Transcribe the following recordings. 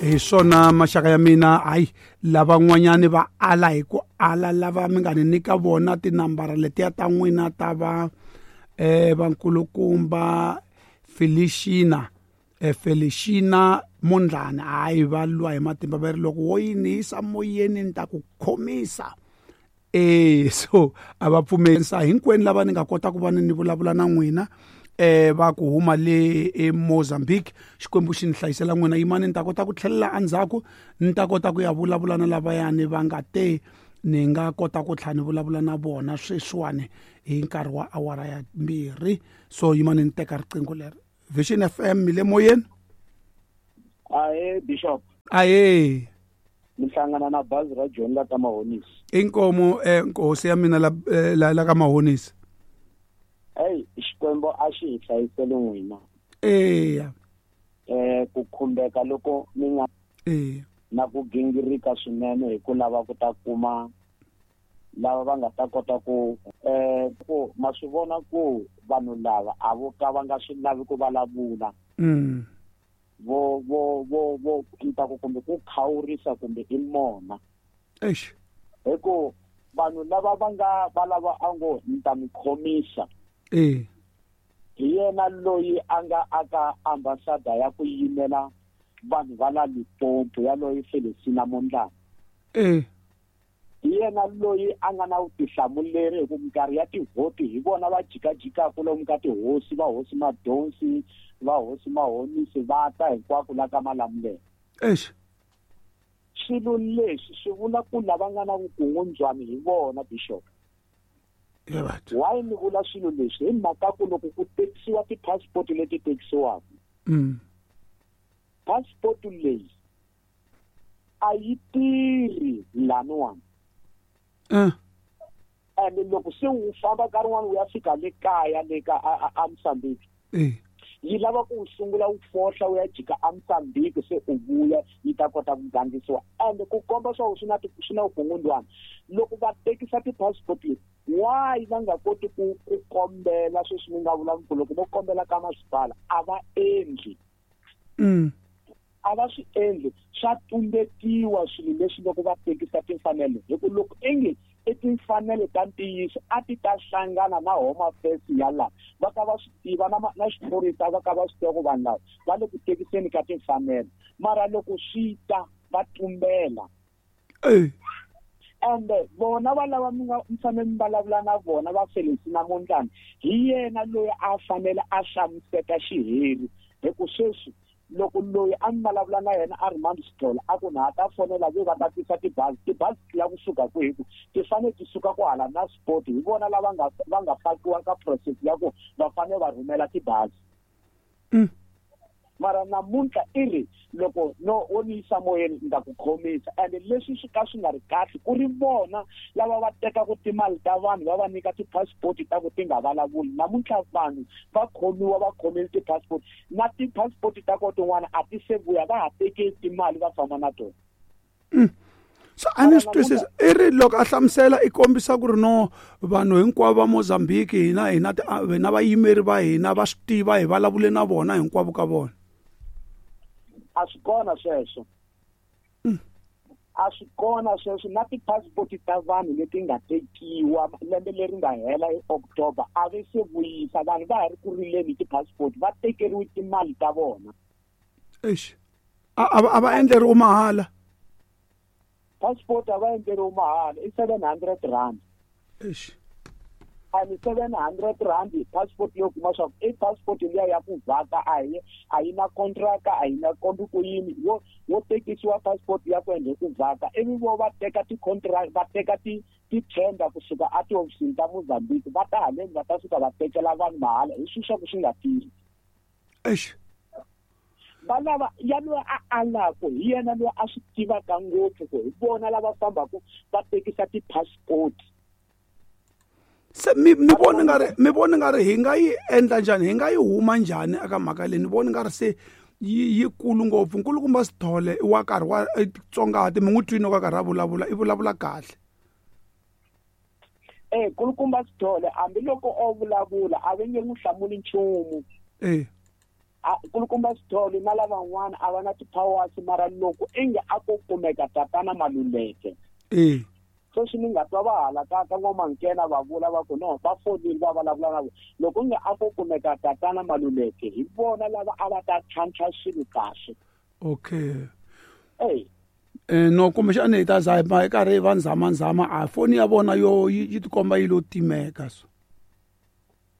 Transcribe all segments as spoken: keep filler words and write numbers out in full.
Hi swona maxaka ya mina, hayi lavan'wanyani va ala hi ku ala lava mi nga ni nyika vona tinambara letiya ta n'wina ta va eh vankulukumba Felicina eh Felicina Mondlane, hayi va lwa hi matimba va ri loko wo yi ni yisa moyeni ni ta ku khomisa. Eh so a va pfumelisa hinkwenu lava ni nga kota ku va ni vulavula na n'wina eh va ku huma le eMozambique. Xikwembu xi ni hlayisela n'wina, yimani ni ta kota ku tlhelela endzhaku ni ta kota ku ya vulavula na lavayani va nga te ni nga kota ku tlhela ni vulavula na vona sweswiwani hi nkarhi wa awara ya mbirhi. So yimani ni teka riqingho leri. Vision F M mi le moyeni. Ahe Bishop. Ahe. Mi hlangana na bazi ra John la ka Mahonisi. Inkomo eh nkosi ya mina la la, la ka Mahonisi. Hey, Xikwembu a xi hi hlayisele n'wina. Eya. Eh ku khumbeka loko mi nga eh na ku gingirika swinene hi ku lava ku ta kuma lava va nga ta kota ku eh ku ma swi vona ku vanhu lava a vo ka va nga swi lavi ku vulavula. Mm. Vo vo vo vo ta ku kumbe ku khawurisa kumbe i mona. Eish. Hi ku vanhu lava va nga va lava a ngo ni ta mi khomisa. Eh. Hi yena loyi a nga aka ambassador ya ku yimela vanhu va la Limpopo ya loyi Felicina Mondlane. Eh. Hi yena loyi a nga na vutihlamuleri hi ku minkarhi ya tivhoti hi vona va jikajikaka lomu ka tihosi, va hosi Madonsi, va hosi Mahonisi, va ta hinkwako la ka Malamulele. Eish. Swilo leswi swi vula ku lava nga na vukungundzwani hi vona Bishop. Why ni vula swilo leswi? Hi mhaka ku loko ku tekisiwa ti-passport leti tekisiwaka, mm. passport leyi a yi tirhi laniwani. Uh. And loko se wu famba nkarhi wun'wani wu ya fika le kaya le ka a Mozambique, eh. yi lava ku wu sungula wu fohla wu ya jika a Mozambique se u vuya yi ta kota ku gandlisiwa. And ku komba swa ku swi na swi na vukungundzwana loko va tekisa ti-passport leti, why va nga koti ku ku kombela sweswi mi nga vula ku loko vo kombela ka masipala a va endli. Mm. A va swi endli, swa tumbetiwa swilo leswi loko va tekisa timfanelo. Hi ku loko ingi i timfanelo ta ntiyiso a ti ta hlangana na Home Affairs ya laha va ka va swi tiva na na xiphorisa va ka va swi tiva ku vanhu lava va le ku tekiseni ka timfanelo, mara loko swi ta va tumbela. Eh. Ende vona va lava mi nga mi fanele mi vulavula na vona va Felicina Mondlane, hi yena loyi a fanele a hlamuseta xiheri. Hi ku sweswi loko loyi a mi vulavula na yena a ri Mandi Sithole a ku na ha ta fonela ve va ta tisa tibazi, tibazi ti lava kusuka kwihi? Ku ti fanele ti suka kwahala na sport, hi vona lava nga va nga fakiwa ka process ya ku va fanele va rhumela tibazi. Mm. Mara namuntlha i ri loko no wo ni yisa moyeni ni ta ku khomisa. And leswi swi ka swi nga ri kahle ku ri vona lava va tekaka timali ta vanhu va va nyika ti-passport ta ku ti nga vulavuli. Namuntlha vanhu va khomiwa va khomile ti-passport na ti-passport ta ko tin'wana a ti se vuya, va ha teki timali va famba na tona. Mm. So a ni swi twisisa i ri loko a hlamusela i kombisa ku ri no vanhu hinkwavo va Mozambique hina hina hina vayimeri va hina va swi tiva hi vulavule na vona hinkwavo ka vona. A swi kona sweswo. A swi kona sweswo na ti-passport ta vanhu leti nga tekiwa lembe leri nga hela hi October a va se vuyisa, vanhu va ha ri ku rileni ti-passport, va tekeriwe timali ta vona. Eish. A a va endleriwe mahala. Passport a va endleriwe mahala i seven hundred rand. Eish. And seven hundred rand passport yo kuma swa i passport liya ya ku vhaka a yi a yi na contract, a yi na kombi ku yini, wo wo tekisiwa passport ya ku endle ku vhaka ivi vo va teka ti-contract, va teka ti ti-tender kusuka a tihofisini ta Mozambique va ta haleni va ta suka va tekela vanhu mahala hi swilo swa ku swi nga tirhi. Eish. Va lava ya loyi a alaku hi yena loyi a swi tivaka ngopfu ku hi vona lava fambaka va tekisa ti-passport. Se mi mi vona nga ri mi vona nga ri hi nga yi endla njhani, hi nga yi huma njhani eka mhaka leyi? Ni vona nga ri se yi yikulu ngopfu. Nkulukumba Sithole i wa karhi wa tsongahati mi n'wi twini ka karhi a vulavula, i vulavula kahle. Eh Nkulukumba Sithole hambiloko o vulavula a va nge n'wi hlamuli nchumu. Eh. Nkulukumba Sithole na lavan'wana a va na ti-powers mara loko inge a ko kumeka tatana Maluleke eh sweswi ni nga twa va hala ka ka N'wamankena va vula va ku no va fonile va vulavula na vona loko nge a ko kumeka tatana Maluleke hi vona lava a va ta tlhantlha swilo kahle. Okay. Ey eh no kumbexana hi ta za hi karhi va nzamanzama a foni ya vona yo yi tikomba yi lo timeka so.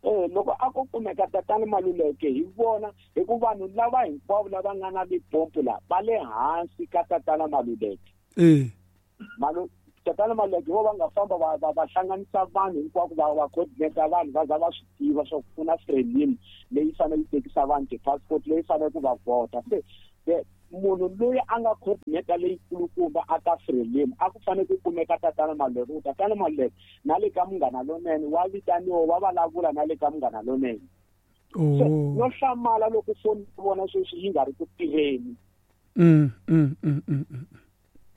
Eh loko a ko kumeka tatana Maluleke hi vona hi ku vanhu lava hinkwavo lava nga na Limpopo la va le hansi ka tatana Maluleke. Eh Malu tatana Maluleke vo va nga famba va va va hlanganisa vanhu hinkwako va va coordinate vanhu va za va swi tiva swa ku na Frelimo leyi fanele yi tekisa vanhu ti-passport leyi fanele ku va vhota. Se munhu loyi a nga coordinator leyi kulukumba a ka Frelimo a ku fanele ku kumeka tatana Maluleke. Tatana Maluleke na le ka Munghana Lonene wa vitaniwa wa vulavula na le ka Munghana Lonene. Oh no hlamala loko foni vona sweswi yi nga ri ku tirheni. Mm mm mm mm.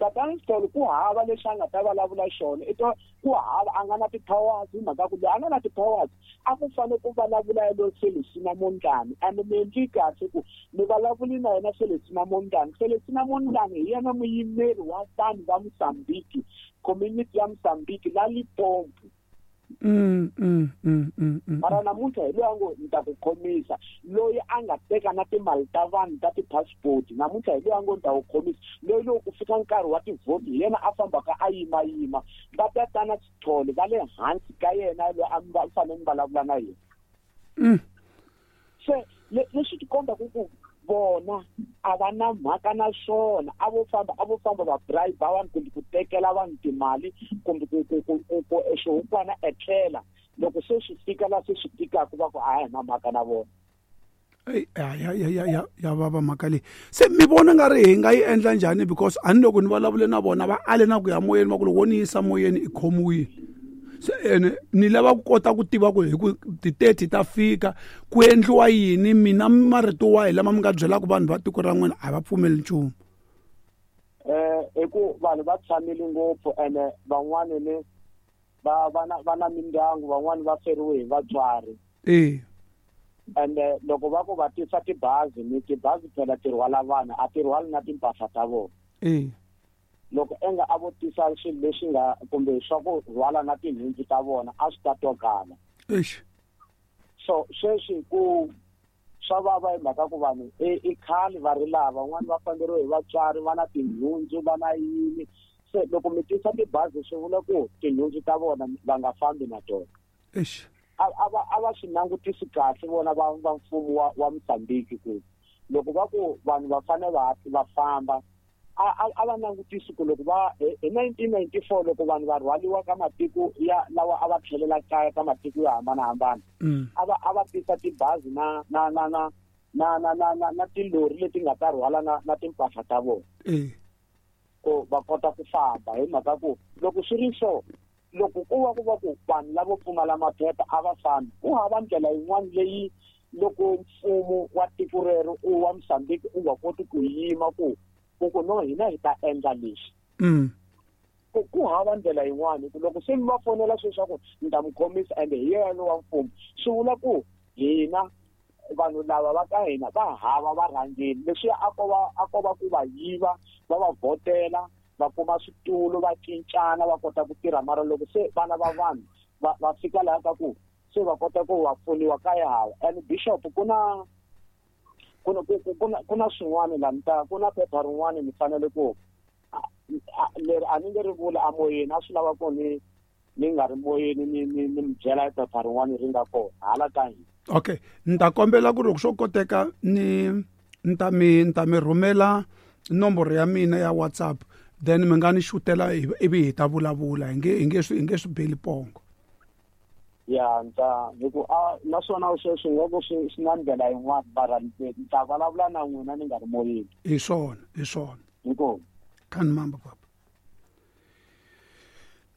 Tatana Sithole ku hava lexi a nga ta vulavula xona i to ku hava a nga na ti-powers hi mhaka ku loyi a nga na ti-powers a ku fanele ku vulavula yelo Celestina Mondlane and mi endli kahle ku mi vulavuli na yena Celestina Mondlane. Celestina Mondlane hi yena muyimeri wa vanhu va Mozambique, community ya Mozambique la Limpopo. Mm mm mm mm. Mara namuntlha hi loyi a ngo ni ta ku khomisa loyi a nga teka na timali ta vanhu ta ti-passport namuntlha hi loyi a ngo ni ta ku khomisa loyi loko ku fika nkarhi wa tivhoti hi yena a fambaka a yimayima va tatana Sithole va le hansi ka yena loyi a va fanele mi vulavula na yena. Mm. Se leswi ti kombaka ku vona a va na mhaka na swona a vo famba a vo famba va bribe vanhu kumbe ku tekela vanhu timali kumbe ku ku ku ku xihukwana etlela loko se swi fika la se swi tikaka va ku a hi na mhaka na vona. Ey ya ya ya ya ya vava mhaka leyi. Se mi vona nga ri hi nga yi endla njhani because a ni loko ni vulavule na vona va ale na ku ya moyeni va ku loko wo ni yisa moyeni i khomiwile. Se ene ni lava ku kota ku tiva ku hi ku ti-thirty ta fika ku endliwa yini mina marito wahi lama mi nga byelaka vanhu va tiko ra n'wina a va pfumeli nchumu. Eh i ku vanhu va tshamile ngopfu ene van'wani ni va va na va na mindyangu van'wani va feriwe hi vatswari. Eh ende loko va ku va tisa tibazi ni tibazi phela ti rhwala vanhu a ti rhwali na timpahla ta vona. Eh loko enga a vo tisa swilo leswi nga kumbe swa ku rhwala na tinhundzu ta vona a swi ta twakala. Eish. So sweswi ku swa vava hi mhaka ku vanhu i khale va ri lava van'wani va famberiwe hi vatswari va na tinhundzu va na yini se loko mi tisa tibazi swi vula ku tinhundzu ta vona va nga fambi na tona. Eish. A a va a va swi langutisi kahle vona va va mfumo wa wa Mozambique ku loko va ku vanhu va fanele va va famba a a va langutisi ku loko va hi nineteen ninety-four loko vanhu va rhwaliwa ka matiko ya lawa a va tlhelela kaya ka matiko yo hambanahambana a va a va tisa tibazi na na na na na na na na na tilori leti nga ta rhwala na na timpahla ta vona ku va kota ku famba hi mhaka ku loko swi ri so loko ku va ku va ku vanhu lavo pfumala maphepha a va fambi ku hava ndlela yin'wana leyi loko mfumo wa tiko rero u wa Mozambique u nga koti ku yima ku ku no hina hi ta endla leswi. Mm. Ku ku hava ndlela yin'wana ku loko se mi va fonela sweswaku ni ta mi khomisa ende hi yena wa mfumo swi vula ku hina vanhu lava va ka hina va hava varhangeri leswiya a ko va a ko va ku va yiva va va vhotela va kuma switulu va cincana va kota ku tirha mara loko se vana va vanhu va va fika laha ka ku se va kota ku va pfuniwa ka ya hava. And bishop ku na ku na ku na ku na swin'wana la ni ta ku na phepha rin'wana ni fanele ku leri a ni nge ri vula amoyeni a swi lava ku ni ni nga ri moyeni ni ni ni mi byela hi phepha rin'wana ri nga kona hala ka hina. Okay ni ta kombela ku ri loko swo koteka ni ni ta mi ni ta mi rhumela nomboro ya mina ya WhatsApp then mi nga ni xutela ivi hi ta vulavula hi nge hi nge swi hi nge swi beli pongo. Ya nta hi ku a naswona sweswi nga ku swi swi na ndlela yin'wana mara ni ta vulavula na n'wina ni nga ri moyeni. Hi swona hi swona. Inkomu. Kani mamba papa.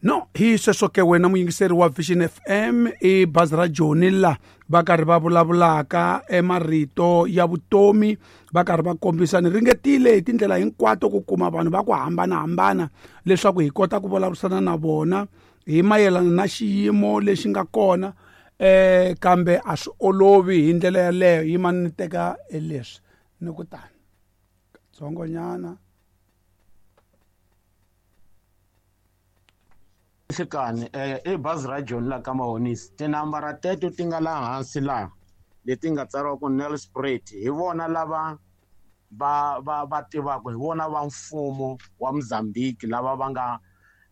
No, hi sweswo ke wena muyingiseri wa Vision F M i bazi ra Joni la va karhi va vulavulaka emarito ya vutomi va karhi va kombisa ni ringetile hi tindlela hinkwato ku kuma vanhu va ku hambanahambana leswaku hi kota ku vulavurisana na vona hi mayelana na xiyimo lexi nga kona eh kambe a swi olovi hi ndlela yaleyo. Yimani ni teka leswi ni ku tani katsongonyana. Nhlikani eh i bazi ra John la ka Mahonisi, tinambara teto ti nga laha hansi laha leti nga tsariwa ku Nelspruit, hi vona lava va va va tivaka, hi vona va mfumo wa Mozambique lava va nga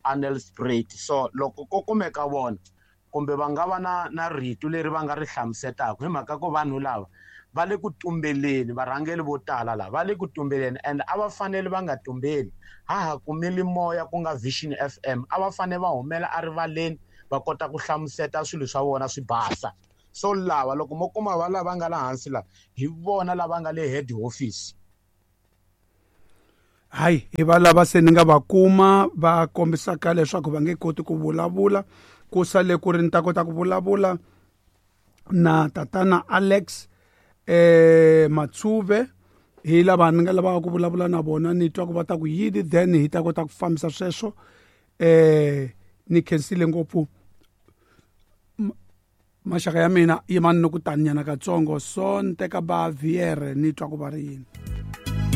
a Nelspruit. So loko ko kumeka vona kumbe va nga va na na rito leri va nga ri hlamusetaka, hi mhaka ku vanhu lava va le ku tumbeleni, varhangeri vo tala lava va le ku tumbeleni, and a va fanele va nga tumbeli. Ha ha kumile moya ku nga Vision F M, a va fanele va humela erivaleni va kota ku hlamuseta swilo swa vona swi basa. So lava loko mo kuma va lava nga la hansi la, hi vona lava nga le head office. Hayi, hi va lava se ni nga va kuma va kombisaka leswaku va nge koti ku vulavula, ku sale ku ri ni ta kota ku vulavula na tatana Alex eh Matsuve, hi lava ni nga lavaka ku vulavula na vona, ni twa ku va ta ku yini, then hi ta kota ku fambisa sweswo. Eh ni khensile ngopfu maxaka ya mina, yimani ni ku taninyana katsongo, so ni teka ba viere ni twa ku va ri yini.